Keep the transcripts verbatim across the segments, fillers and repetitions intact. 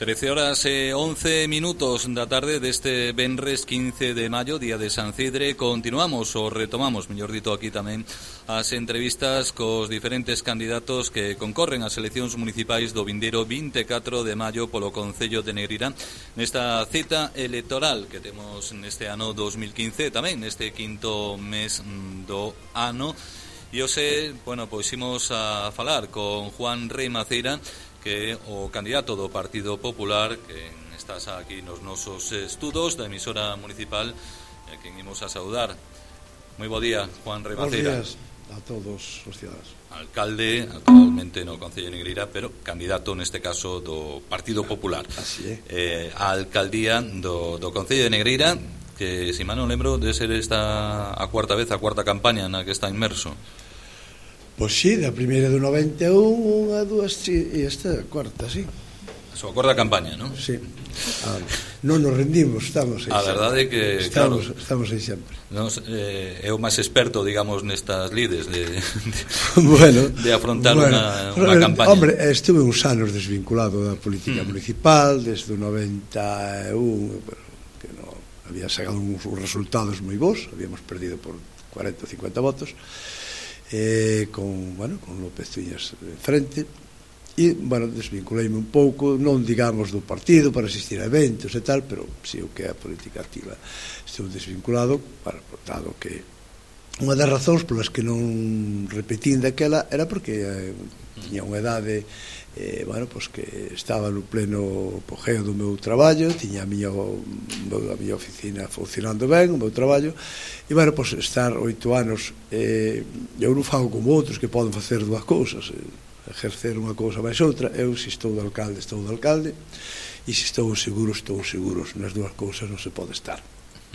trece horas e once minutos da tarde deste venres quince de maio, día de San Cidre. Continuamos, ou retomamos, mellor dito, aquí tamén as entrevistas cos diferentes candidatos que concorren ás eleccións municipais do vindeiro vinte e catro de maio polo Concello de Negreira, nesta cita electoral que temos neste ano dos mil quince, tamén neste quinto mes do ano. E hoxe, bueno, pois imos a falar con Juan Rei Maceira, que é o candidato do Partido Popular, que estás aquí nos nosos estudos da emisora municipal, e que imos a saudar. Moi bo día, Juan Rei Maceira. Bos días a todos os cidadanos. Alcalde, actualmente no Concello de Negreira, pero candidato neste caso do Partido Popular. Así é. Eh, a alcaldía do, do Concello de Negreira, que, se mal non lembro, de ser esta a cuarta vez, a cuarta campaña na que está inmerso. Pois sí, da primeira do noventa e un, a dúas, e esta a cuarta, sí. A súa cuarta campaña, non? Sí. Ah, non nos rendimos, estamos aí. A verdade é que, estamos, claro, estamos aí sempre. Nos, eh, é o máis experto, digamos, nestas lides de, de, bueno, de afrontar bueno, unha, unha campaña. Hombre, estuve uns anos desvinculado da política mm. municipal, desde o noventa e un, que no, había sacado uns resultados moi bons, habíamos perdido por cuarenta ou cincuenta votos, eh, con, bueno, con López Tuñas en frente, e, bueno, desvinculeime un pouco, non digamos do partido para asistir a eventos e tal, pero si o que é a política activa estou desvinculado, para, dado que unha das razóns polas que non repetín daquela era porque eh, tiña unha edade, eh, bueno, pois que estaba no pleno apogeo do meu traballo, tiña a miña, a miña oficina funcionando ben, o meu traballo, e, bueno, pois estar oito anos, eh, eu non fago como outros que poden facer dúas cousas, eh, ejercer unha cousa máis outra. Eu, se estou de alcalde, estou de alcalde, e se estou seguro, estou seguro. Nas dúas cousas non se pode estar,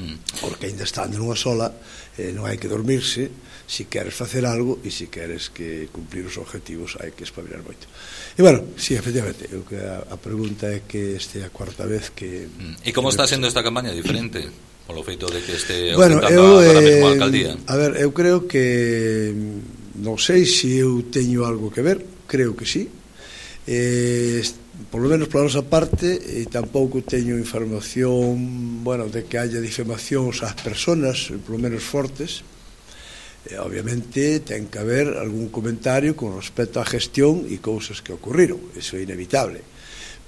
mm. porque ainda estando nunha sola, eh, non hai que dormirse. Se queres facer algo e se queres que cumplir os objetivos, hai que espabilar moito. E, bueno, sí, efectivamente, eu que a, a pregunta é que este é a cuarta vez que... Mm. E como está sendo esta campaña diferente? Polo feito de que este bueno, ostentando eu, agora mesmo a eh, alcaldía. A ver, eu creo que non sei se eu teño algo que ver, creo que sí, eh, por lo menos pola nosa parte, e tampouco teño información, bueno, de que haya difamacións ás persoas, por lo menos fortes. Eh, obviamente ten que haber algún comentario con respecto á gestión e cousas que ocurriron, eso é inevitable.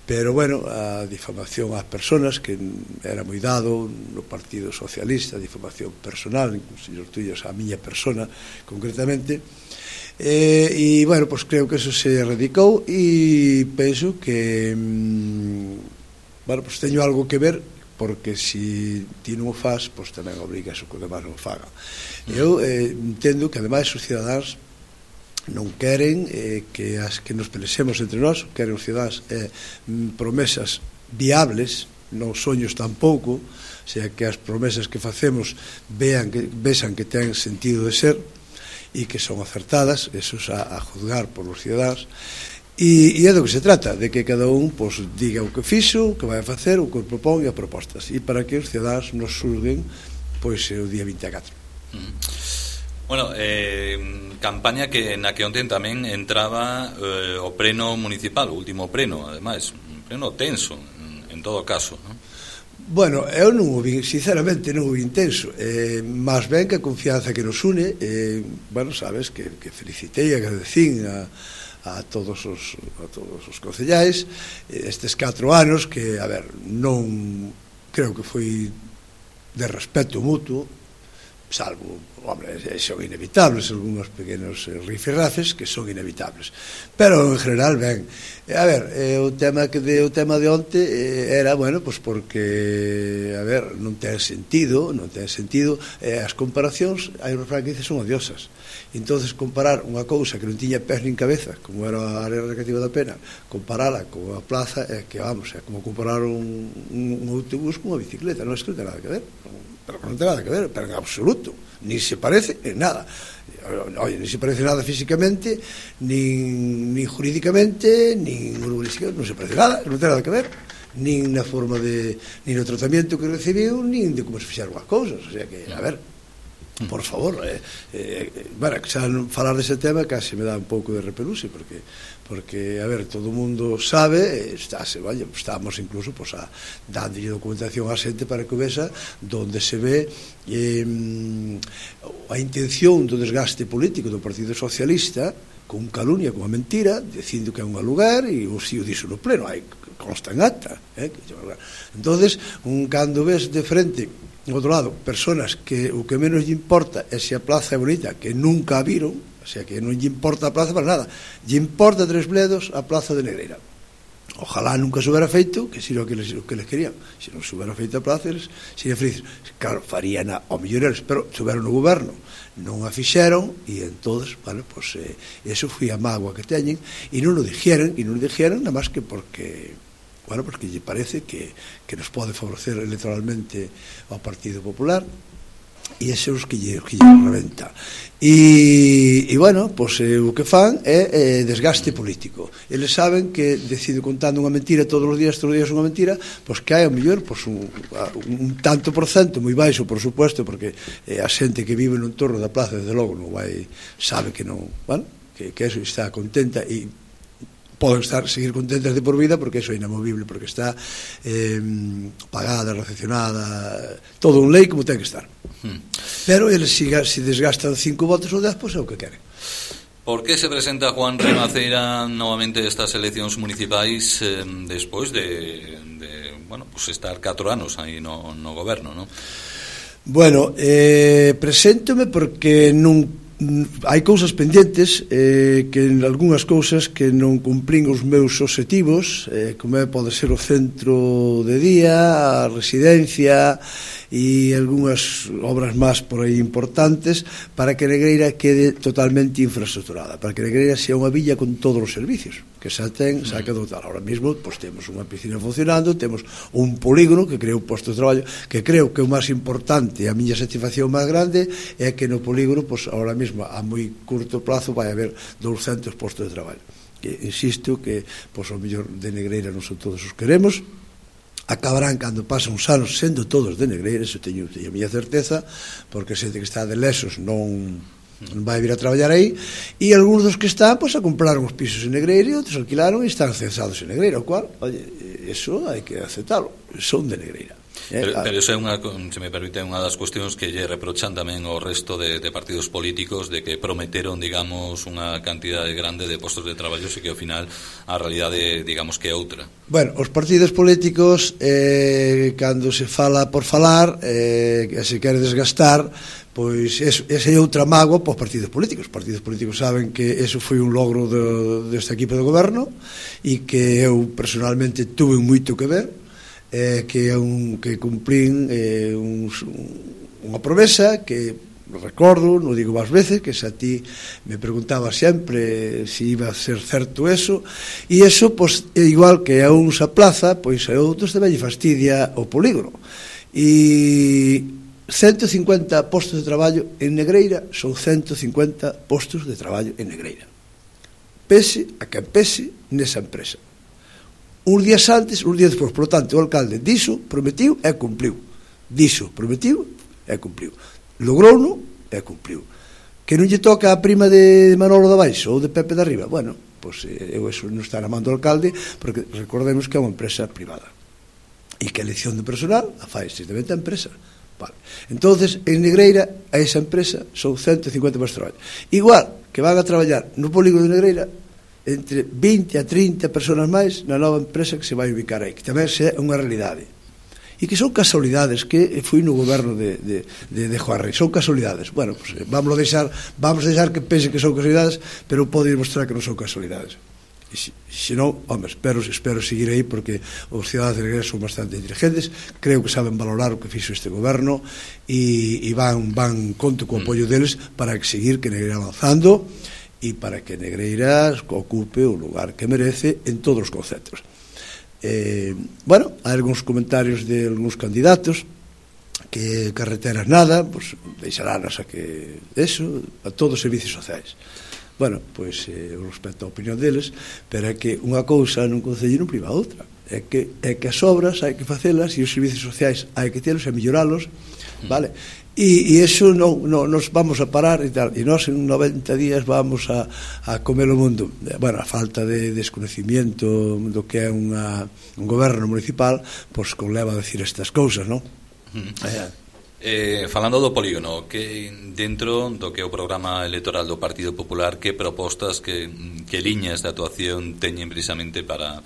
Pero, bueno, a difamación ás persoas, que era moi dado no Partido Socialista, a difamación personal, incluso os tuyos a miña persona, concretamente, eh, e, bueno, pois creo que eso se erradicou, e penso que, mm, bueno, pois teño algo que ver, porque se ti non o faz, pois tamén obrigas o que o demais non faga. Eu eh, entendo que, ademais, os cidadáns non queren eh, que as que nos pensemos entre nós, queren os cidadáns eh, promesas viables, non soños tampouco, o sea, que as promesas que facemos vean que, vexan que ten sentido de ser e que son acertadas, eso é a, a juzgar por os cidadáns, e, e é do que se trata, de que cada un pois, diga o que fixo, o que vai a facer, o que propón e as propostas, e para que os cidadáns nos xulguen pois o día vinte e catro. Mm. Bueno, eh, campaña que na que ontem tamén entraba eh, o pleno municipal, o último pleno, ademais, un pleno tenso, en, en todo caso, non? Bueno, eu non o vi, sinceramente non o vi intenso, eh, máis ben que a confianza que nos une, eh, bueno, sabes, que, que felicitei e agradecín a, a todos os a todos os concellais estes catro anos que, a ver, non creo que foi de respeto mutuo, salvo, hombre, son inevitables algúns pequenos rifirrafes que son inevitables, pero en general ben. A ver, eh, o tema que de, o tema de onte eh, era, bueno, pois porque, a ver, non ten sentido, non ten sentido, eh, as comparacións, hai un refrán que dice, son odiosas. Entonces, comparar unha cousa que non tiña pés nin cabeza, como era a área recreativa da Pena, comparala con a plaza, é que, vamos, é como comparar un, un, un autobús con unha bicicleta, non é que non ten nada que ver, pero non ten nada que ver, pero en absoluto, ni se parece en nada. Oye, ni se parece nada físicamente, nin, nin jurídicamente, nin urbanísticamente, non se parece nada, non ten nada que ver, nin na forma de, nin no tratamento que recibiu, nin de como se fixeron as cousas, o sea que, a ver, por favor, eh, eh, bueno, xa non falar dese tema casi me dá un pouco de repeluxe, porque porque, a ver, todo o mundo sabe, estáse, vaya, estamos incluso pues, a, dándolle documentación á xente para que vexa donde se ve eh, a intención do desgaste político do Partido Socialista con calumnia, con a mentira, dicindo que é un lugar e o si o dixo no pleno, hai consta en acta, eh? Entonces, un cando ves de frente no outro lado, personas que o que menos lle importa é se a plaza é bonita, que nunca a viron, o sea, que non lle importa a plaza para nada, lle importa tres bledos a plaza de Negreira. Ojalá nunca se hubiera feito, que si non que les, que les querían, se non se hubiera feito a plaza, eles serían felices. Claro, farían a, ao mellor eles, pero estuveron no goberno, non a fixeron, e entonces, bueno, pues, eh, eso foi a mágoa que teñen, e non o dixeran, e non o dixeran, nada máis que porque... bueno, porque lle parece que, que nos pode favorecer electoralmente ao Partido Popular, e ese é os que lle, que lle reventa. E, e bueno, pois, eh, o que fan é eh, desgaste político. Eles saben que decido contando unha mentira todos os días, todos os días unha mentira, pois que hai ao mellor pois, un, un tanto por cento, moi baixo, por supuesto, porque eh, a xente que vive no entorno da plaza, desde logo, non vai, sabe que non, bueno, que, que eso está contenta e poden estar, seguir contentas de por vida porque eso é inamovible, porque está eh, pagada, recepcionada, todo un lei como ten que estar. Hmm. Pero eles se si, si desgastan cinco votos ou dez, pois é o que queren. ¿Por qué se presenta Juan Remaceira novamente estas eleccións municipais eh, despois de, de bueno, pues estar catro anos aí no, no goberno, non? Bueno, eh, preséntome porque non hai cousas pendentes, eh, que en algunhas cousas que non cumplín os meus obxectivos, eh, como é, pode ser o centro de día, a residencia e algunhas obras máis por aí importantes, para que Negreira quede totalmente infraestructurada, para que Negreira sea unha villa con todos os servicios que xa ten, xa que dotar. Ahora mesmo pois, temos unha piscina funcionando, temos un polígono que crea un posto de traballo, que creo que o máis importante, a miña satisfacción máis grande é que no polígono, pois, ahora mesmo a moi curto plazo vai haber douscentos postos de traballo, que insisto que pois, o mellor de Negreira non son todos os que queremos, acabarán cando pasan uns anos sendo todos de Negreira, eso teño, teño a miña certeza, porque xente que está de Lesos non non vai vir a traballar aí, e algúns dos que están pois, a compraron os pisos en Negreira e outros alquilaron e están censados en Negreira, o cual, oye, eso hai que aceptalo, son de Negreira. Pero, pero eso é unha, se me permite, unha das cuestións que lle reprochan tamén ao resto de, de partidos políticos, de que prometeron, digamos, unha cantidade grande de postos de traballo e que ao final a realidade, digamos, que é outra. Bueno, os partidos políticos eh, cando se fala por falar eh, que se quere desgastar, pois ese é outra mágoa para os partidos políticos. Os partidos políticos saben que eso foi un logro do, deste equipo de goberno e que eu personalmente tuve moito que ver, eh, que é un que cumplín eh, un, unha promesa que recordo, non digo máis veces, que se a ti me preguntaba sempre se iba a ser certo eso, e eso pois, é igual que a uns a plaza, pois a outros tamén lle fastidia o polígono. E ciento cincuenta postos de traballo en Negreira son ciento cincuenta postos de traballo en Negreira, pese a que pese nesa empresa. Uns días antes, uns días despois, por lo tanto, o alcalde dixo, prometiu e cumpliu, dixo, prometiu e cumpliu, logrouno e cumpliu. Que non lle toca a prima de Manolo da Baixo ou de Pepe da Riba, bueno, pois eu eso non está na man do alcalde, porque recordemos que é unha empresa privada e que a elección de personal a fai estrictamente a empresa. Vale. Entonces, en Negreira, a esa empresa son ciento cincuenta postos de traballo. Igual que van a traballar no polígono de Negreira entre vinte a trinta personas máis na nova empresa que se vai ubicar aí, que tamén é unha realidade. E que son casualidades, que foi no goberno de, de, de, de Juan Rey, son casualidades. Bueno, pues, vamos a deixar, vamos a deixar que pense que son casualidades, pero pode demostrar que non son casualidades. E se, se non, home, espero, espero seguir aí, porque os cidadanos de Negreira son bastante inteligentes, creo que saben valorar o que fixo este goberno e, e van, van conto co apoio deles para que seguir que Negreira avanzando e para que Negreira ocupe o lugar que merece en todos os conceptos. Eh, bueno, hai algúns comentarios de algúns candidatos que carreteras nada, pues, deixarán a que eso, a todos os servicios sociais. Bueno, pois eh, eu respeto a opinión deles, pero é que unha cousa nun concello non priva a outra. é que, é que as obras hai que facelas e os servicios sociais hai que telos e melloralos, vale? E, e eso non, non nos vamos a parar e tal, e nós en noventa días vamos a, a comer o mundo. Bueno, a falta de desconocimiento do que é unha, un goberno municipal, pois conleva a decir estas cousas, non? Mm. Eh, eh, falando do polígono, que dentro do que é o programa electoral do Partido Popular, que propostas, que, que liñas de actuación teñen precisamente para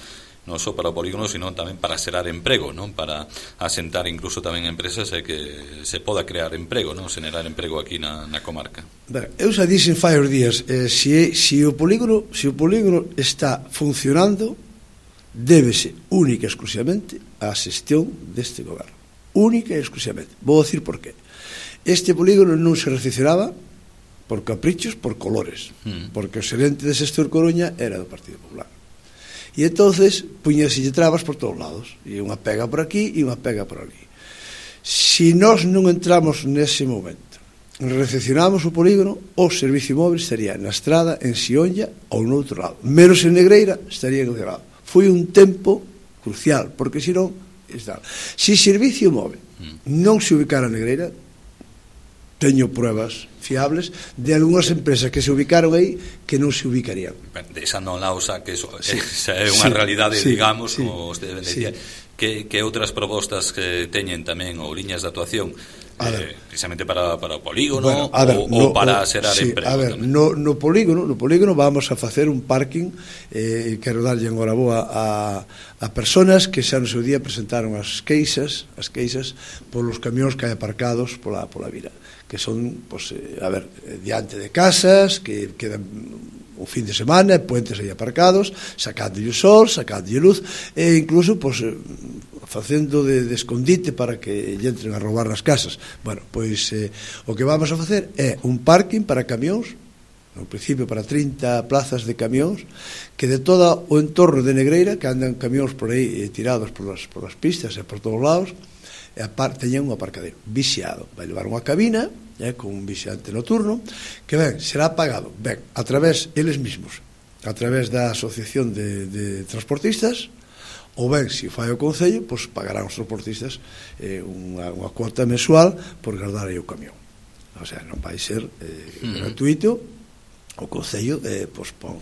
non só para o polígono, sino tamén para xerar emprego, non? Para asentar incluso tamén empresas e que se poda crear emprego, non? Xerar emprego aquí na, na comarca. Ben, eu xa dixen fai os días, eh, se, se o polígono se o polígono está funcionando, débese única e exclusivamente á xestión deste goberno, única e exclusivamente. Vou dicir por qué. Este polígono non se recepcionaba por caprichos, por colores, mm. porque o xerente de Xestor Coruña era do Partido Popular. E entonces puñaselle trabas por todos lados, e unha pega por aquí e unha pega por ali. Se nós non entramos nese momento, recepcionamos o polígono, o servicio móvil estaría na estrada, en Sionlla ou no outro lado, menos en Negreira estaría en outro lado. Foi un tempo crucial, porque senón está. Se o servicio móvil non se ubicara en Negreira, teño pruebas fiables de algunhas empresas que se ubicaron aí que non se ubicarían. Deixando na usa que eso, sí, esa é unha sí, realidade, sí, digamos, sí, como usted decía, sí. que, que outras propostas que teñen tamén ou liñas de actuación eh, precisamente para, para o polígono, bueno, ver, ou, no, ou para xerar sí, emprego. A ver, no, no polígono, no polígono vamos a facer un parking, eh, quero darlle agora boa a, a personas que xa no seu día presentaron as queixas, as queixas polos camións que hai aparcados pola pola vira, que son, pues, eh, a ver, diante de casas que quedan o fin de semana, puentes aí aparcados, sacándolle o sol, sacándolle luz, e incluso, pues, facendo de, de escondite para que lle entren a roubar nas casas. Bueno, pois eh, o que vamos a facer é un parking para camións, no principio para trinta plazas de camións, que de todo o entorno de Negreira, que andan camións por aí eh, tirados por las, por las pistas e por todos lados, e aparte teñen un aparcadero vixiado. Vai levar unha cabina eh, con un vixiante noturno que ben, será pagado ben, a través, eles mesmos, a través da Asociación de, de Transportistas, ou ben, se fai o Concello, pois pagarán os transportistas eh, unha, unha cuota mensual por guardar aí o camión. O sea, non vai ser eh, mm. gratuito. O Concello eh, pois, pon,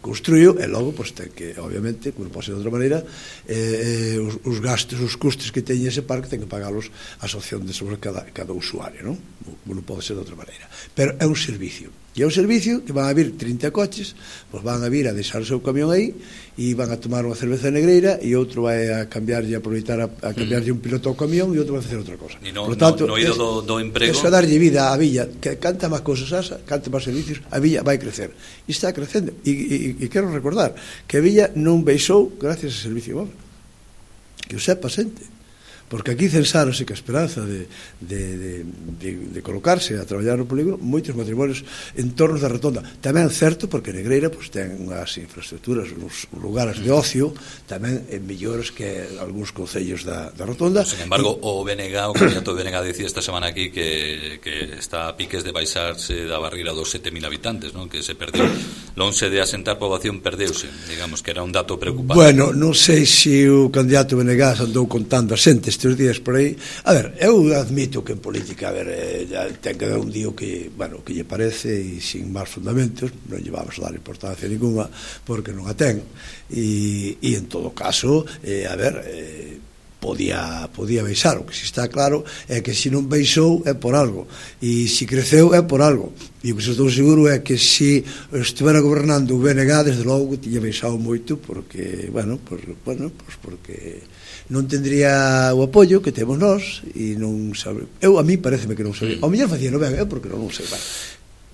construío e logo pois, ten que, obviamente, como pode ser de outra maneira, eh, os, os gastos, os custos que teñe ese parque ten que pagalos a asociación de sobre cada, cada usuario, non? Non pode ser de outra maneira. Pero é un servicio. E é un servicio que van a vir trinta coches, pois van a vir a deixar o seu camión aí e van a tomar unha cerveza Negreira e outro vai a cambiarlle, a aproveitar a, a cambiarlle un piloto ao camión e outro vai a facer outra cosa. E no, Por tanto, no, no ido do, do emprego... Eso a darlle vida á villa, que canta máis cousas asa, canta máis servicios, a villa vai crecer. E está crecendo. E, e, e quero recordar que a villa non baixou gracias ao servicio móvil. Que o sepa xente. Porque aquí censáronse que a esperanza de, de, de, de, de colocarse a traballar no polígono moitos matrimonios en torno da Rotonda. Tamén certo porque Negreira pues, ten unhas infraestructuras, uns lugares de ocio tamén en mellores que algúns concellos da, da Rotonda. Sin embargo, o B N G, o candidato B N G dicía esta semana aquí que, que está a piques de baixarse da barreira dos sete mil habitantes, ¿no? Que se perdeu, lonxe de asentar poboación perdeuse, digamos que era un dato preocupante. Bueno, non sei se o candidato B N G andou contando a xente estes días por aí. A ver, eu admito que en política, a ver, eh, ten que dar un día que, bueno, que lle parece e sin máis fundamentos, non lle vamos a dar importancia ninguna porque non a ten. E, e en todo caso, eh, a ver, eh, podía, podía baixar. O que si está claro é que se non baixou é por algo e se creceu é por algo. E o que estou seguro é que se estivera gobernando o B N G desde logo que tiña baixado moito porque, bueno, por, bueno, pues porque non tendría o apoio que temos nós e non sabe. Eu a mí pareceme que non sabía. Ao mellor facía non ben, eu porque non sei, vale.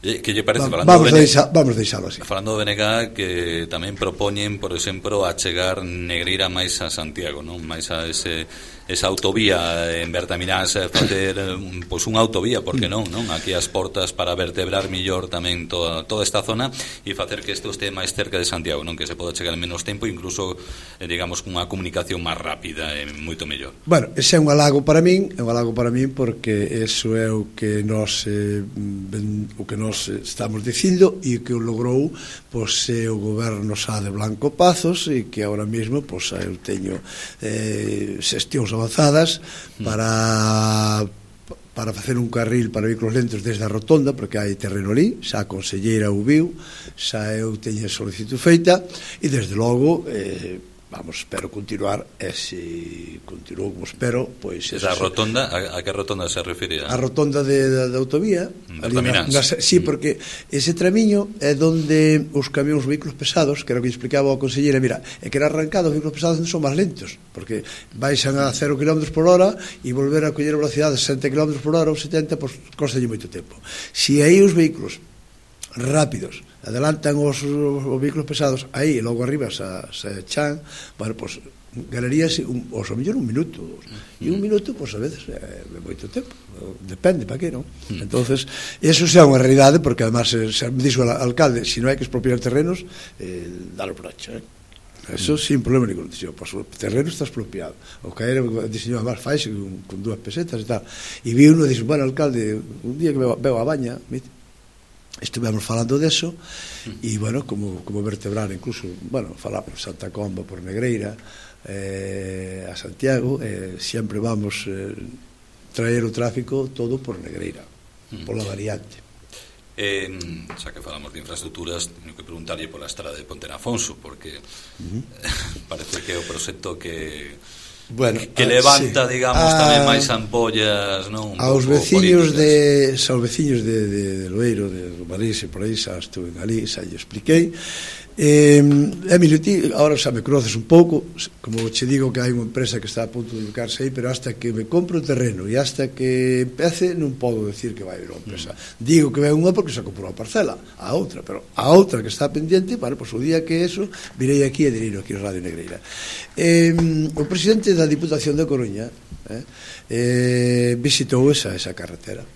Que lle parece, Va, falando vamos, de deixa, vamos deixalo así. Falando do B N G, que tamén propoñen, por exemplo, a chegar Negreira máis a Santiago, non? Máis a ese esa autovía en Bertaminás, facer pois unha autovía, porque non, non? Aquí as portas para vertebrar millor tamén toda, toda esta zona e facer que isto este máis cerca de Santiago, non? Que se poda chegar en menos tempo, incluso, eh, digamos, cunha comunicación máis rápida e moito mellor. Bueno, ese é un halago para min, é un halago para min porque eso é o que nós eh, ben, o que nós estamos dicindo e que o logrou pois é o goberno xa de Blanco Pazos e que agora mesmo pois eu teño eh, xestións avanzadas para para facer un carril para vehículos lentos desde a rotonda, porque hai terreno ali, xa a conselleira o viu, xa eu teño a solicitud feita e desde logo eh, vamos, espero continuar e se continuo como espero, pois esa rotonda, a, a que rotonda se refire? A, a rotonda de, de, de autovía ali na, na, sí, porque ese tramiño é donde os camións, os vehículos pesados, que era o que explicaba a conselleira, mira, é que era arrancado os vehículos pesados son máis lentos, porque baixan a cero kilómetros por hora e volver a coller a velocidade de sesenta kilómetros por hora ou setenta, pois costalle moito tempo. Si aí os vehículos rápidos adelantan os, os vehículos pesados aí e logo arriba se, se chan, bueno, pois ganaríase un, ou a mellor un minuto e un minuto, pois a veces é, é moito tempo, depende para que, non? Entonces, eso xa é unha realidade porque además se, se me dixo o alcalde, se si non hai que expropiar terrenos eh, dalo por hecho, eh? Eso sin problema ningún. Dixo, pois o terreno está expropiado. O que era diseñou máis faixe con, con dúas pesetas e tal. E vi uno e dixo, bueno, alcalde, un día que veo, veo a baña, estivemos falando deso e, bueno, como, como vertebrar incluso, bueno, falamos Santa Comba por Negreira eh, a Santiago, eh, sempre vamos eh, traer o tráfico todo por Negreira, pola variante. Eh, xa que falamos de infraestructuras, teño que preguntarlle pola estrada de Pontenafonso, porque uh-huh. parece que é o proxecto que bueno, que levanta, sí, digamos, a, tamén máis ampollas, non? Aos veciños de, aos veciños de, de, de Loeiro, de Romarís e por aí, xa estuve ali, xa lle expliquei. Eh, Emilio, ti ahora xa me conoces un pouco, como che digo que hai unha empresa que está a punto de ubicarse aí, pero hasta que me compro o terreno e hasta que empece non podo decir que vai haber unha empresa. Mm. Digo que vai unha porque xa comprou a parcela, a outra, pero a outra que está pendiente, bueno, pois o día que eso virei aquí e direi aquí en Radio Negreira. Eh, o presidente da Diputación de Coruña eh, eh, visitou esa, esa carretera.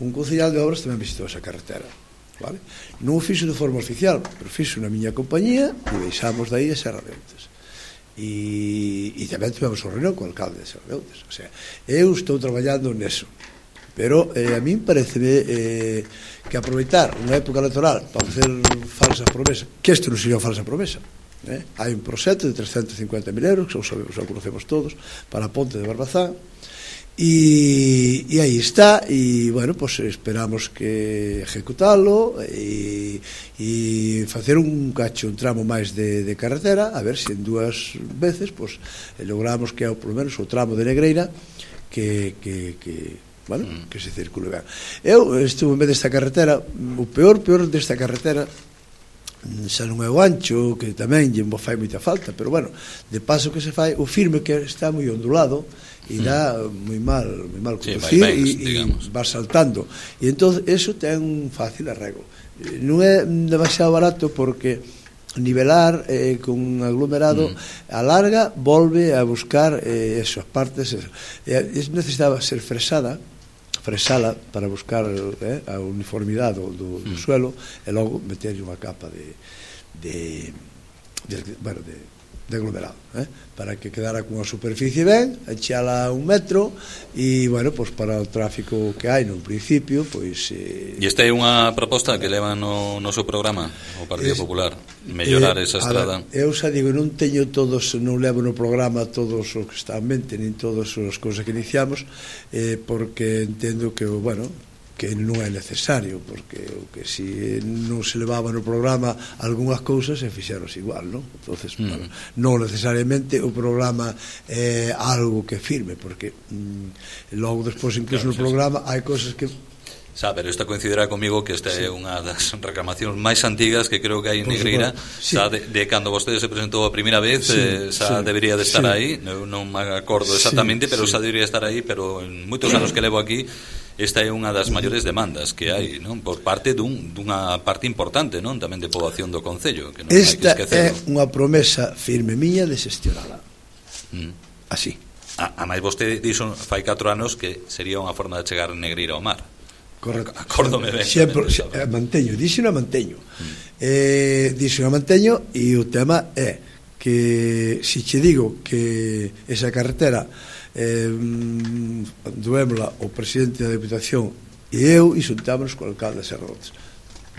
Un concejal de obras tamén visitou esa carretera. Vale? Non o fixo de forma oficial, pero fixo na miña compañía e deixamos dai a Serra de Outes e, e tamén tivemos o reunión co alcalde de Serra de Outes. O sea, eu estou traballando neso, pero eh, a min parece eh, que aproveitar unha época electoral para facer falsas promesas, que isto non sería falsa promesa, eh? Hai un proxecto de trescentos e cincuenta mil euros que xa o conocemos todos para a ponte de Barbazán. E, e aí está e, bueno, pues esperamos que ejecutalo e, e facer un cacho, un tramo máis de, de carretera, a ver se en dúas veces pues, logramos que, por lo menos, o tramo de Negreira que, que, que bueno, mm. que se circule ben. Eu estuve en vez desta carretera, o peor, peor desta carretera xa non é o ancho, que tamén lle fai moita falta, pero bueno, de paso que se fai, o firme que está moi ondulado e dá moi mal, moi mal conducir, sí, e, e va saltando e entón eso ten un fácil arrego. Non é demasiado barato porque nivelar eh, con un aglomerado mm. a larga volve a buscar eh, esas partes eh, necesitaba ser fresada fresala para buscar eh, a uniformidade do, do, do mm. suelo e logo meter unha capa de de, de, bueno, de de aglomerado, eh? para que quedara con a superficie ben, echala un metro e, bueno, pois para o tráfico que hai no principio, pois... Eh... E esta é unha proposta que leva no noso programa o Partido es, Popular, mellorar eh, esa estrada. Ver, eu xa digo, non teño todos, non levo no programa todos os que está en mente, nin todas as cousas que iniciamos, eh, porque entendo que, bueno, que non é necesario, porque o que si non se levaba no programa algunhas cousas se fixeros igual, non? Entonces, mm. bueno, non necesariamente o programa é algo que firme, porque mm, logo despois incluso claro, no programa sí, sí. hai cousas que Xa, pero esta coincidirá comigo que esta sí. é unha das reclamacións máis antigas que creo que hai en Negreira, sí. xa de, de cando vostede se presentou a primeira vez, sí, eh, xa sí, debería de estar sí. aí, non, non me acordo exactamente, sí, pero sí. xa debería estar aí, pero en moitos anos que levo aquí esta é unha das maiores demandas que hai, non? Por parte dun, dunha parte importante, non? Tamén de poboación do concello, que non esta hai que esquecerlo. É unha promesa firme miña de xestionala. Mm. Así. A, a máis vostede dixo fai catro anos que sería unha forma de chegar Negreira ao mar. Correcto. Acórdome ben. Sempre, se, manteño, dixo na manteño. Mm. Eh, dixo na manteño e o tema é que se che digo que esa carretera eh, duémola o presidente da Deputación e eu e xuntámonos co alcalde de Serrotes.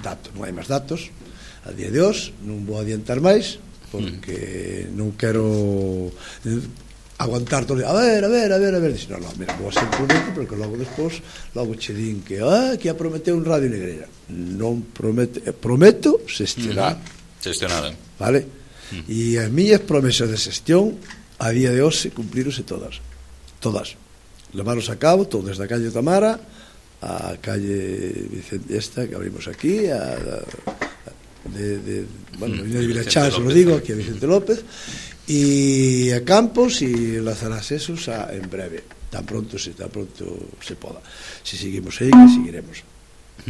Datos, non hai máis datos a día de hoxe, non vou adiantar máis porque mm. non quero aguantar todo, a ver, a ver, a ver, a ver, dice, no, no, mira, vou a ser prudente porque logo despois, logo che din que, ah, que a prometeu un Radio Negreira. Non promete, prometo xestionar. Mm-hmm. Xestionar. Vale? Mm. E as miñas promesas de xestión a día de hoxe cumplirose todas. Todas. Levaros a cabo, todo desde a calle Tamara a calle Vicente esta que abrimos aquí, a, a de, de bueno, mm. de Vilachán, se lo digo, aquí a Vicente López, e a Campos e lanzarás esos a, en breve, tan pronto se tan pronto se poda. Se seguimos aí, que seguiremos.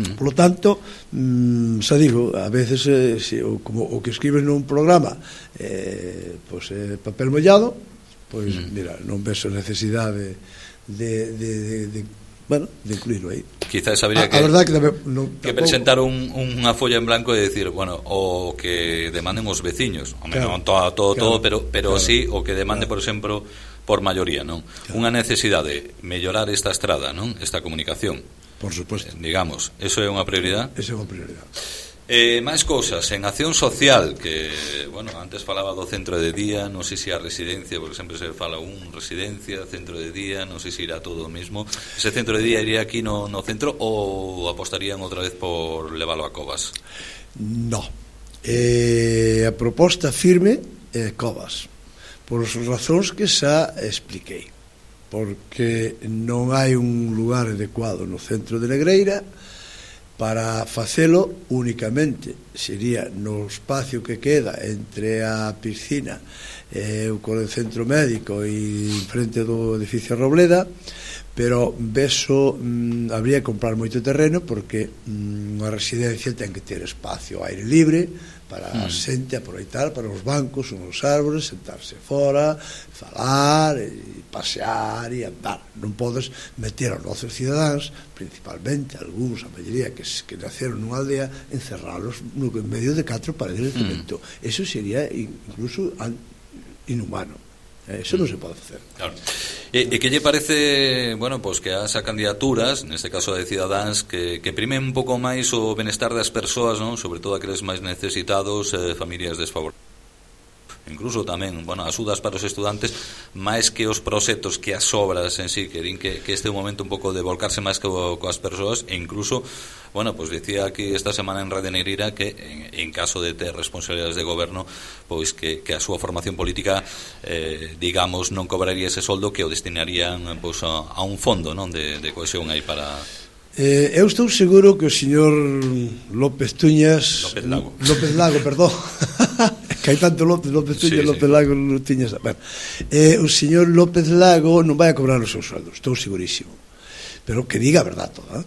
Mm. Por lo tanto, mmm, xa digo, a veces eh, se, o, como o que escribes nun programa eh, pues, eh, papel mollado, pois, mm. mira, non ves a necesidade de, de, de, de bueno, de incluirlo aí. Quizás habría a, que, a que, debe, no, que presentar un, unha folla en blanco e decir, bueno, o que demanden os veciños, o claro, non todo, todo, claro, todo, pero, pero claro, sí, o que demande, claro, por exemplo, por maioría, non? Claro. Unha necesidade de mellorar esta estrada, non? Esta comunicación. Por suposto. Eh, digamos, eso é unha prioridade? Eso é unha prioridade. Eh, máis cousas, en acción social, que, bueno, antes falaba do centro de día, non sei se a residencia, porque sempre se fala un residencia, centro de día, non sei se irá todo o mesmo. Ese centro de día iría aquí no, no centro ou apostarían outra vez por leválo a Covas? No. Eh, a proposta firme é Covas, por as razóns que xa expliquei, porque non hai un lugar adecuado no centro de Negreira. Para facelo únicamente sería no espacio que queda entre a piscina e o centro médico e frente do edificio Robleda, pero beso mm, habría que comprar moito terreno porque mm, unha residencia ten que ter espacio aire libre para a mm. xente aproveitar para os bancos, uns árbores, sentarse fora, falar, e pasear e andar. Non podes meter aos nosos cidadáns, principalmente algúns, a maioría que, que naceron nunha aldea, encerralos no medio de catro paredes de cemento. Mm. Eso sería incluso inhumano. Eso non se pode facer. Claro. E, e que lle parece, bueno, pois que as candidaturas, neste caso de Cidadáns, que, que primen un pouco máis o benestar das persoas, non? Sobre todo aqueles máis necesitados, eh, familias desfavorecidas. Incluso tamén, bueno, axudas para os estudantes máis que os proxectos, que as obras en sí, que din que, que este é un momento un pouco de volcarse máis co, coas persoas, e incluso, bueno, pues decía aquí esta semana en Radio Negreira que en, en caso de ter responsabilidades de goberno, pois que, que a súa formación política eh, digamos, non cobraría ese soldo, que o destinarían pois, a, a un fondo, non, de, de cohesión aí para... Eh, eu estou seguro que o señor López Tuñas López Lago, López Lago, perdón que hai tanto López, López Tuñas, sí, López sí. Lago Tuñas, bueno, eh, o señor López Lago non vai a cobrar os seus sueldos, estou segurísimo, pero que diga a verdade toda, eh?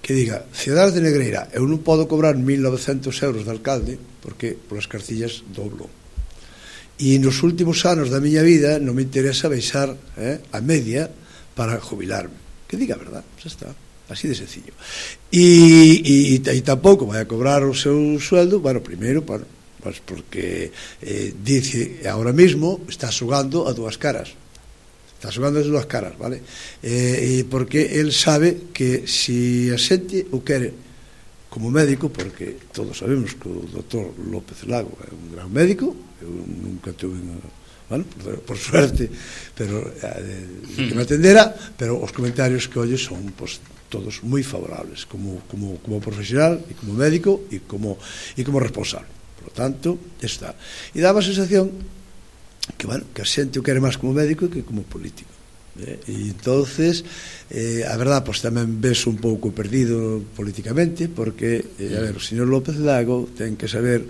Que diga, Cidades de Negreira, eu non podo cobrar mil novecentos euros de alcalde porque polas cartillas doblo, e nos últimos anos da miña vida non me interesa baixar eh, a media para jubilarme, que diga a verdade, xa está, así de sencillo. E, e, e tampouco vai a cobrar o seu sueldo, bueno, primeiro, bueno, pues porque eh, dice, ahora mismo está xogando a dúas caras, está xogando as dúas caras, vale? Eh, e porque el sabe que si a xente o quere como médico, porque todos sabemos que o doutor López Lago é un gran médico, eu nunca tuve unha, bueno, por, por suerte, pero eh, que me atendera, pero os comentarios que oye son, pues, todos moi favorables como, como, como profesional e como médico e como, e como responsable. Por lo tanto, está. E daba a sensación que, bueno, que a xente o quere máis como médico que como político. Eh? E entonces, eh, a verdade, pues, tamén ves un pouco perdido políticamente, porque, eh, a ver, o señor López Lago ten que saber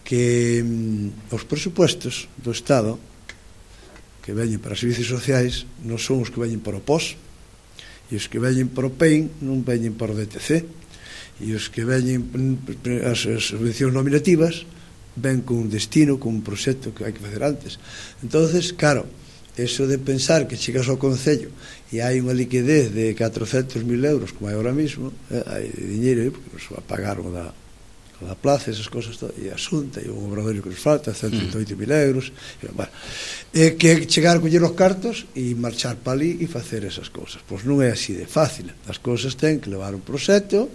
que mm, os presupuestos do Estado que veñen para servicios sociais non son os que veñen para o P O S, e os que veñen para o P E I N non veñen para o D T C, e os que veñen as, as subvencións nominativas ven con un destino, con un proxecto que hai que facer antes. Entonces, claro, eso de pensar que chegas ao Concello e hai unha liquidez de catrocentos mil euros como hai ahora mismo, eh, hai dinheiro aí porque nos va a pagar o da, o da plaza, esas cosas todo, e a Xunta e o obradorio que nos falta ciento trinta e oito mil euros, e, bueno, é que chegar a coller os cartos e marchar para ali e facer esas cousas. Pois non é así de fácil, as cousas ten que levar un proxecto,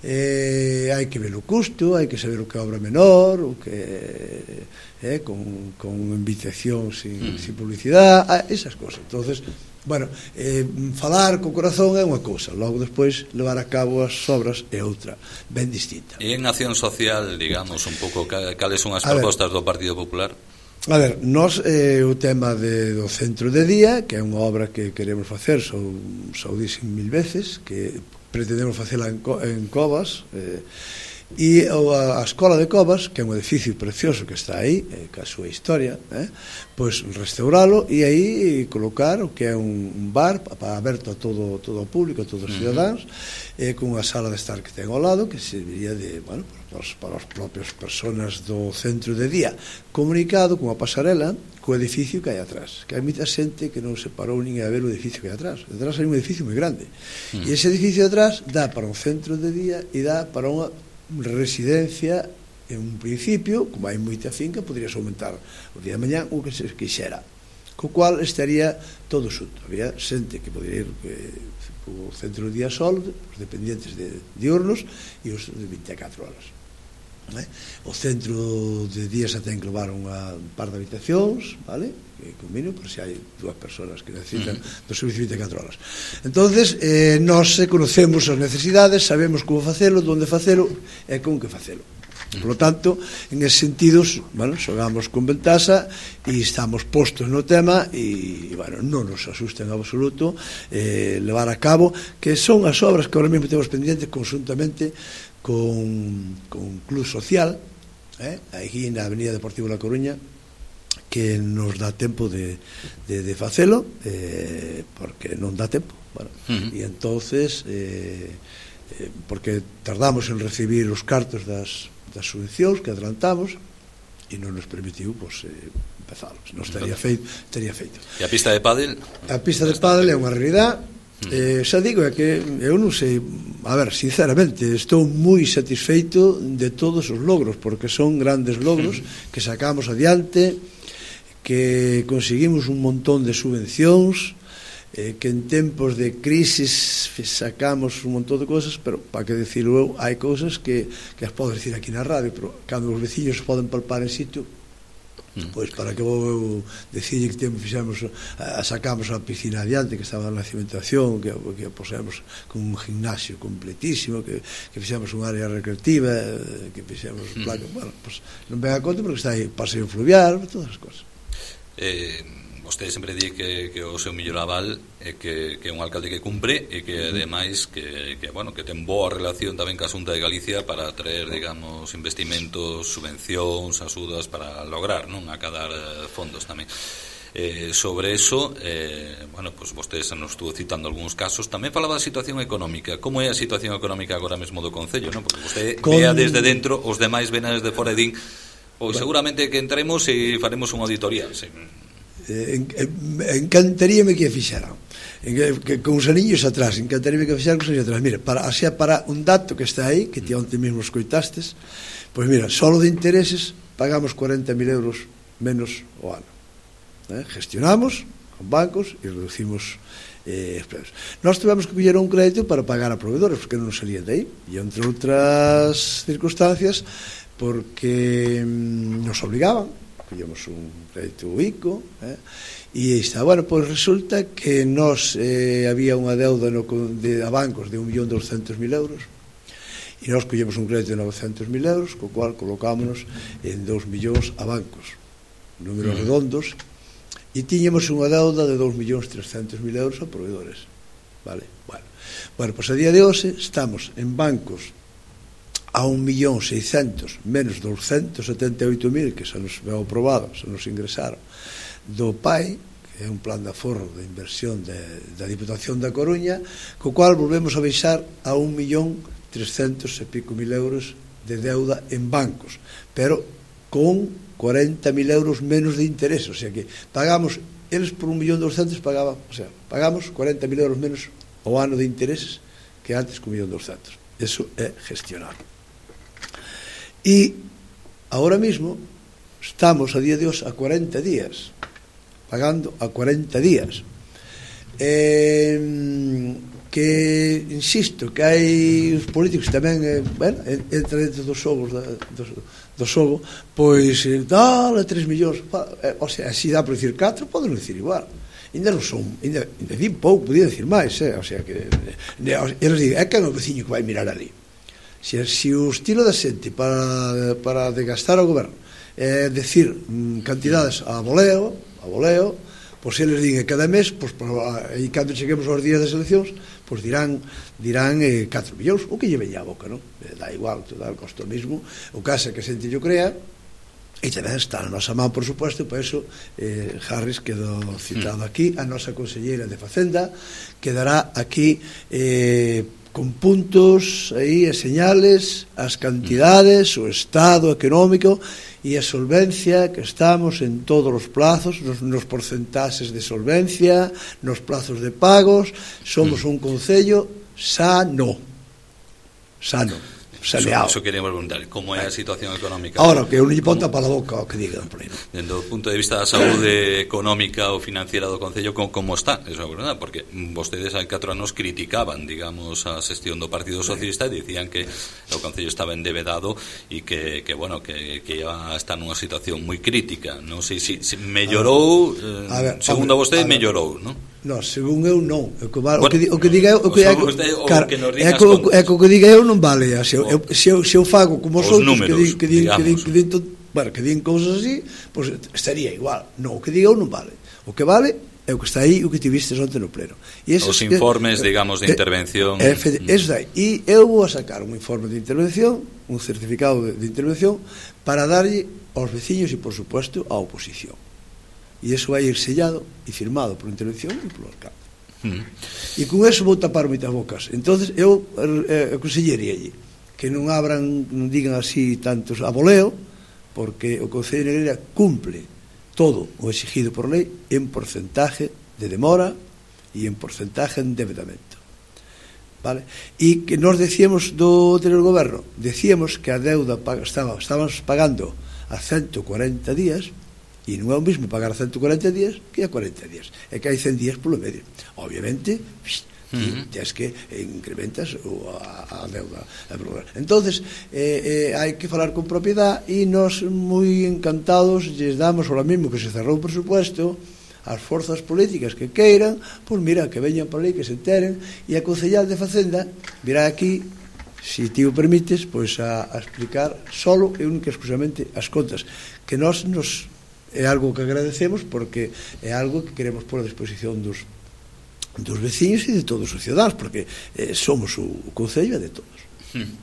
eh, hai que ver o custo, hai que saber o que é obra menor, o que eh, con, con invitación sin, mm. sin publicidade, ah, esas cosas. Entonces, bueno, eh, falar co corazón é unha cousa, logo despois levar a cabo as obras é outra, ben distinta. E en acción social, digamos, un pouco cales son as propostas do Partido Popular? A ver, nós eh, o tema de, do centro de día, que é unha obra que queremos facer, xa o dixen mil veces, que pretendemos facela en, en Covas, eh, e a, a Escola de Covas, que é un edificio precioso que está aí, eh, que a súa historia, eh, pois restauralo e aí colocar o que é un, un bar para aberto a todo, todo o público, a todos os cidadáns, eh, con unha sala de estar que ten ao lado, que serviría de, bueno, para os, para os propios personas do centro de día, comunicado con a pasarela co edificio que hai atrás, que hai moita xente que non se parou nin a ver o edificio que hai atrás. Atrás hai un edificio moi grande, mm. e ese edificio atrás dá para un centro de día e dá para unha residencia. En un principio, como hai moita finca, poderías aumentar o día de mañá o que se quixera, co cual estaría todo xunto. Había xente que podería ir eh, o centro de día sol, os dependientes de diurnos e os de vinte e catro horas. Eh? O centro de día xa ten que levar unha par de habitacións, vale? Que combino, por se hai dúas persoas que necesitan do servicio vinte e catro horas. Entonces, eh, nós conocemos as necesidades, sabemos como facelo, onde facelo e con que facelo. Por lo tanto, en ese sentido, bueno, xogamos con ventaxa e estamos postos no tema e, bueno, non nos asusta en absoluto eh, levar a cabo, que son as obras que ahora mesmo temos pendientes conjuntamente con, con Club Social, eh, aquí na Avenida Deportiva La Coruña, que nos dá tempo de, de, de facelo, eh, porque non dá tempo, bueno, uh-huh. e entonces eh, eh, porque tardamos en recibir os cartos das das subvencións que adelantamos e non nos permitiu, pois, eh, empezarlos. Non estaría feito, estaría feito. E a pista de pádel? A pista de pádel é unha realidade. Eh, xa digo, é que eu non sei, a ver, sinceramente, estou moi satisfeito de todos os logros, porque son grandes logros que sacamos adiante, que conseguimos un montón de subvencións, eh, que en tempos de crisis sacamos un montón de cosas, pero para que decirlo eu, hai cousas que, que as podo decir aquí na radio, pero cando os veciños poden palpar en sitio, mm. pois para que vou eu decirle que temos, fixamos, a, sacamos a piscina adiante que estaba na cimentación, que, que posemos con un gimnasio completísimo, que, que fixamos un área recreativa, que fixamos mm. placa, bueno, pois non ven a conta porque está aí paseo fluvial, todas as cosas. Eh... Vostede sempre di que, que o seu mellor aval é que, que é un alcalde que cumpre e que, ademais, que, que, bueno, que ten boa relación tamén ca Xunta de Galicia para traer, digamos, investimentos, subvencións, axudas para lograr, non, acadar fondos tamén. Eh, sobre eso, eh, bueno, pues vostedes nos estuvo citando algúns casos. Tamén falaba da situación económica. Como é a situación económica agora mesmo do Concello, non? Porque vostede Con... vea desde dentro, os demais ven desde fora e din, pois bueno, seguramente que entremos e faremos unha auditoría, sí. Eh, en, en, encantaríame que fixaran en, que, con os anillos atrás, encantaríame que fixaran con os anillos atrás. Mira, para, así para un dato que está aí, que ti onte mesmo escoitastes, pois mira, solo de intereses pagamos cuarenta mil euros menos o ano, eh? Gestionamos con bancos e reducimos eh, expresos. Nós tivemos que coller un crédito para pagar a proveedores porque non nos salían de aí, e entre outras circunstancias porque mm, nos obligaban, collemos un crédito ICO, eh, e está, bueno, pois resulta que nos eh, había unha deuda no, de, a bancos de un millón doscientos mil euros e nós collemos un crédito de novecentos mil euros, co cual colocámonos en dos millóns a bancos, números redondos, e tiñemos unha deuda de dos millóns trescentos mil euros a proveedores, vale? Bueno, bueno, pois a día de hoxe estamos en bancos a un millón seiscentos menos douscentos setenta e oito mil que se nos veu aprobado, se nos ingresaron do P A I, que é un plan de aforro de inversión de, da Diputación da Coruña, co cual volvemos a baixar a un millón trescentos e pico mil euros de deuda en bancos, pero con cuarenta mil euros menos de interés, o sea que pagamos eles por un millón doscientos pagaban, o sea, pagamos cuarenta mil euros menos ao ano de intereses que antes con un millón doscientos. Eso é gestionar. E ahora mismo estamos a día de hoxe a cuarenta días, pagando a cuarenta días. Eh, que, insisto, que hai os políticos tamén, eh, bueno, entra dentro dos xogos da, do, do xogo, pois dale tres millóns, eh, o sea, se dá por dicir catro, poden dicir igual, ainda non son, ainda, ainda din pouco, podía dicir máis, eh, o sea, que eles digan, é que é o veciño que vai mirar ali. Se, se o estilo da xente para, para desgastar o goberno é decir cantidades a voleo, a voleo, pois eles din cada mes, pois, e cando cheguemos aos días das eleccións, pois dirán dirán eh, catro millóns, o que lle veña a boca, non? Da igual, todo o costo mismo, o caso é que a xente yo crea, e tamén está na nosa man, por suposto, por eso eh, Harris quedou citado aquí, a nosa conselleira de Facenda quedará aquí eh, con puntos aí e señales, as cantidades, o estado económico e a solvencia, que estamos en todos os plazos, nos, nos porcentaxes de solvencia, nos plazos de pagos, somos un concello sano, sano, saneado. Eso, eso queremos preguntar, como é a situación económica? Ahora, que un lle ponta para a boca o que digan por aí. Dentro do punto de vista da saúde económica ou financiera do concello, como, como está? Eso é verdade, porque vostedes hai catro anos criticaban, digamos, a xestión do Partido Socialista e dicían que o concello estaba endevedado e que, que bueno, que, que iba a estar nunha situación moi crítica. Non sei se si, si mellorou, eh, ver, segundo a vostede, mellorou, non? No, según eu non. O que, vale, bueno, o que, o que diga eu, o que, o, é, o, car, que nos é, co, é co que diga eu non vale. Se eu, eu, se eu, se eu fago como os outros que din, que din, que din, que din, bueno, que din cousas así, pois pues, estaría igual. Non, o que diga eu non vale. O que vale é o que está aí, o que tiviste onte no pleno. E os informes, que, digamos, de intervención. É, é, eso aí. E eu vou a sacar un informe de intervención, un certificado de, de intervención, para darlle aos veciños e, por supuesto, á oposición. E iso vai ir sellado e firmado por intervención e polo alcalde. Mm. E con eso vou tapar moitas bocas. Entonces eu eh, aconselleríalle que non abran, non digan así tantos a voleo, porque o Concello de Negreira cumple todo o exigido por lei en porcentaje de demora e en porcentaje de endeudamento. Vale? E que nos decíamos do anterior goberno, decíamos que a deuda estaba, estábamos pagando a ciento cuarenta días, e non é o mesmo pagar a ciento cuarenta días que a cuarenta días, é que hai cen días polo medio. Obviamente, uh-huh. tens que incrementas a, a deuda. Entonces, eh, eh, hai que falar con propiedade, e nós moi encantados lles damos ahora mesmo que se cerrou o presupuesto as forzas políticas que queiran, pois mira, que veñan por aí, que se enteren, e a concellal de Facenda virá aquí, se ti o permites, pois a, a explicar solo e única exclusivamente as contas, que nós nos é algo que agradecemos, porque é algo que queremos pôr a disposición dos, dos veciños e de todos os cidadanos, porque eh, somos o, o concello de todos. Hmm.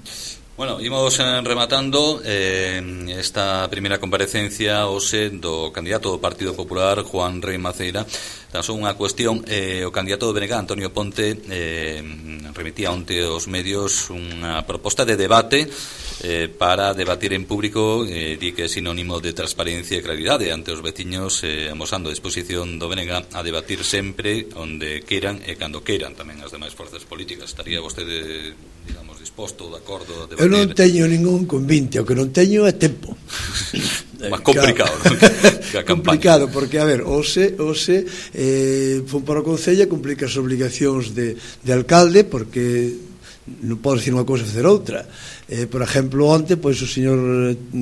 Bueno, imos eh, rematando eh, esta primeira comparecencia hoxe do candidato do Partido Popular, Juan Rei Maceira. Tan só unha cuestión, eh, o candidato do B N G, Antonio Ponte, eh, remitía onte aos medios unha proposta de debate eh, para debatir en público, eh, di que é sinónimo de transparencia e claridade ante os veciños, eh, amosando a disposición do B N G a debatir sempre onde queiran e cando queiran, tamén as demais forzas políticas. Estaría vostede, digamos, disposto, de acordo a debatir? Eu non teño ningún convinte, o que non teño é tempo. Más complicado, claro. ¿No? Complicado, porque, a ver, ose, ose eh, fun para o Concello, cumplir as obligacións de, de alcalde, porque non podo dicir unha cousa e facer outra. Eh, por exemplo, onte, pois o señor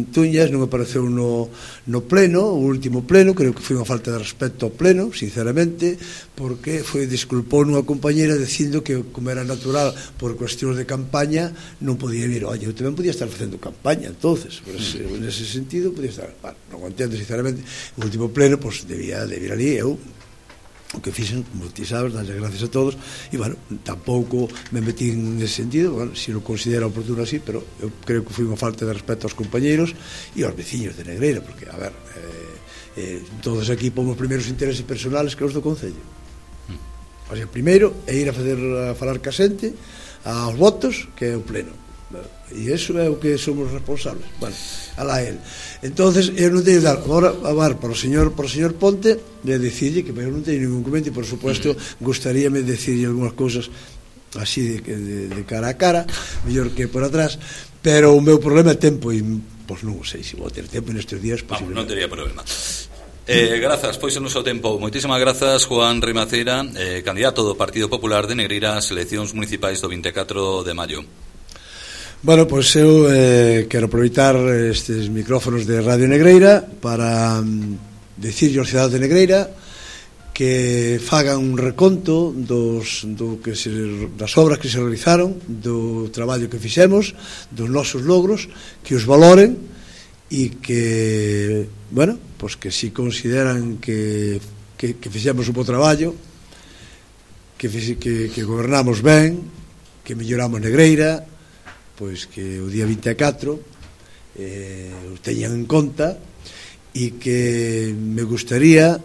Tuñas non apareceu no, no pleno, o último pleno, creo que foi unha falta de respeto ao pleno, sinceramente, porque foi disculpou nunha compañera dicindo que, como era natural por cuestións de campaña, non podía vir. Oye, eu tamén podía estar facendo campaña, entonces, por ese, nese sentido, podía estar. Bueno, non entendo, sinceramente, o último pleno, pois, debía de vir ali, eu o que fixen, como ti sabes, darle gracias a todos, e, bueno, tampouco me metí nese sentido, bueno, se lo considera oportuno así, pero eu creo que foi unha falta de respeto aos compañeiros e aos veciños de Negreira, porque, a ver, eh, eh, todos aquí pomos primeiros intereses personales que os do Concello. O sea, primeiro é ir a facer a falar ca xente aos votos, que é o pleno. e iso é o que somos responsables. Bueno, alá el. Entonces, eu non teño dar agora a bar para o señor, para o señor Ponte, de decirlle que eu non teño ningún comento, e por supuesto gustaríame decirlle algunhas cousas así de, de, de cara a cara, mellor que por atrás, pero o meu problema é tempo, e pois non sei se vou ter tempo nestes días. Vamos, non teria problema. Eh, grazas, pois en o seu tempo. Moitísimas grazas, Juan Rimaceira, eh, candidato do Partido Popular de Negreira ás eleccións municipais do vinte e catro de maio. Bueno, pois eu eh, quero aproveitar estes micrófonos de Radio Negreira para um, decirle aos cidadanos de Negreira que fagan un reconto dos, do que se, das obras que se realizaron, do traballo que fixemos, dos nosos logros, que os valoren e que, bueno, pois que si consideran que, que, que fixemos un bo traballo, que, que, que gobernamos ben, que melloramos Negreira, pois que o día vinte e catro eh, o teñan en conta, e que me gustaría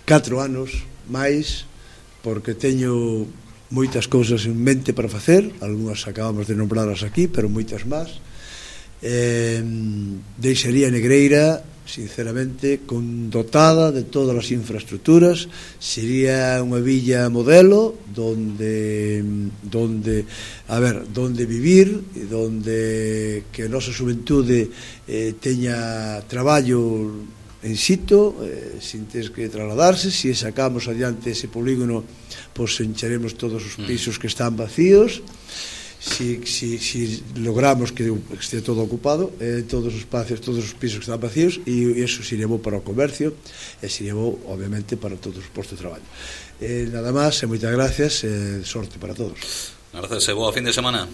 catro anos máis, porque teño moitas cousas en mente para facer, algunhas acabamos de nombrarlas aquí, pero moitas máis. Eh, deixaría Negreira sinceramente con dotada de todas as infraestructuras, sería unha villa modelo donde donde a ver, donde vivir e donde que a nosa xuventude eh, teña traballo en sitio, eh, sin ter que trasladarse. Se si sacamos adiante ese polígono, pois pues, encharemos todos os pisos que están vacíos. Si, si, si logramos que esté todo ocupado, eh, todos os espacios, todos os pisos que están vacíos, e iso sería bo para o comercio e sería bo, obviamente, para todos os postos de traballo. Eh, nada máis, e moitas gracias, e sorte para todos. Gracias e boa fin de semana.